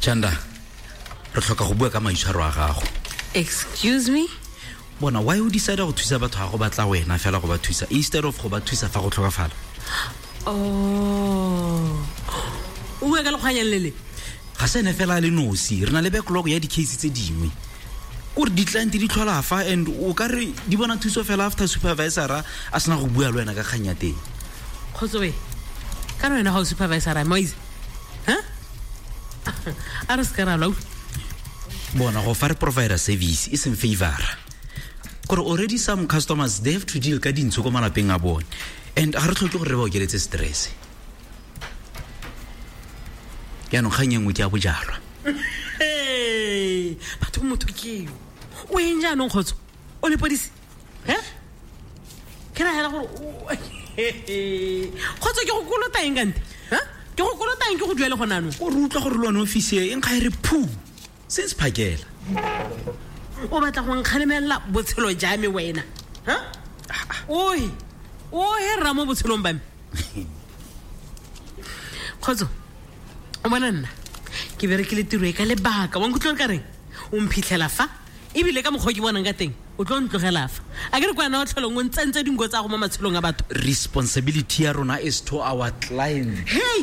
Chanda, re tlhoka go bua ka maitshwaro a gago. Excuse me? Bona, why o decide go thusa batho ga go batla wena fela go ba thusa instead of go ba thusa fa go tlhokafala? Oh. O bua ka lekgwanyang le le? Ga se ene fela a le nosi, re na le backlog ya di-case tse dingwe. Kore di-client di tlhola fa and o ka re di bona thuso fela after supervisora a sena go bua le wena ka kgang ya teng. Kgotso we, kana wena ga o supervisora moise? Ha? A re se ka ra lwa. Bona, go fa re provider service e seng favora. Kore already some customers they have to deal ka dintsho ko malapeng a bone and ga re tlhoke gore re ba okeletse stress. Jaanong kgang e nngwe ke ya bojalwa. Hey, batho motho ke yo. O eng jaanong kgotso? O lepodisi? He? Ke ra hela gore kgotso ke go kolota eng kante? Ha? Ke go kolota eng ke go duele gone anong? O re utlwa gore le one office e nkga e re phu since phakela. O batla go nkgalemelela botshelo ja me wena? Ha? Ohe, ohe rra mo botshelong ba me. Kgotso, o bona nna ke berekile tiro e ka lebaka wa nkutlwa ka reng o mphitlhela fa ebile ka mokgwa o ke bonang ka teng o tlo ntlogela fa a ke re kwana o tlholong o ntsentse dinko tsa go mo matshelong a batho. Responsibility ya rona is to our client. Hey!